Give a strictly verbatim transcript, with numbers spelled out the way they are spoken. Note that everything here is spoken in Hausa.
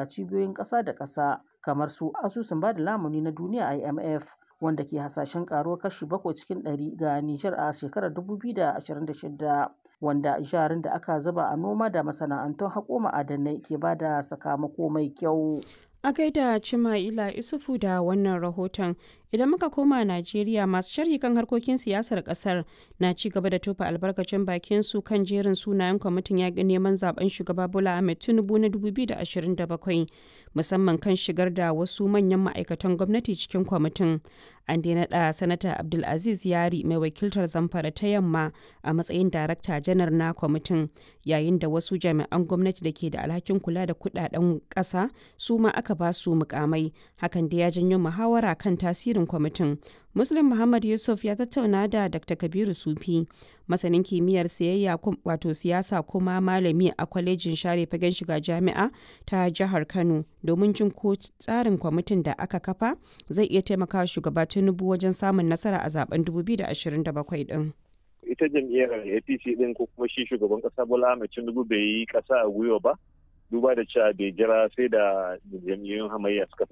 cibiyoyin ƙasa da ƙasa kamar su Asusun Bada Lamuni na Duniya (I M F), wanda ke hasashen ƙaruwar kashi bakwai cikin ɗari ga Nijar a shekarar dubu biyu da ashirin da shida, wanda jarin da aka zuba a noma da masana'antun haƙo ma'adinai ke ba da sakamako mai kyau. A gaida Cima'ila Isufu da wannan rahoton. Idan muka koma Najeriya, masu sharhi kan harkokin siyasar kasar na ci gaba da tofa albarkacin bakin su kan jerin sunayen kwamitin yaƙin neman zaben shugaba Bola Ahmed Tinubu na dubu biyu da ashirin da bakwai, musamman kan shigar da wasu manyan ma'aikatan gwamnati cikin kwamitin. An dai naɗa Sanata Abdulaziz Yari mai wakiltar Zamfara ta Yamma a matsayin Darakta Janar na kwamitin, yayin da wasu jami'an gwamnati da ke da alhakin kula da kuɗaɗen ƙasa su ma aka ba su mukamai. Hakan da ya janyo muhawara kan tasirin kwamitin. Muslim Muhammad Yusuf ya tattauna da Doctor Kabiru Sufi, masanin kimiyyar siyayya wato siyasa kuma malami a kwalejin share fagen shiga jami'a ta jihar Kano, domin jin ko tsarin kwamitin da aka kafa zai iya taimakawa shugaba Tinubu wajen samun nasara a zaben dubu biyu da ashirin da bakwai din. Ita jam'iyyar A P C din ko kuma shi shugaban kasa Bola Ahmed Tinubu bai yi kasa a gwiwa ba, duba da cewa bai jira sai da jam'iyyun hamayya suka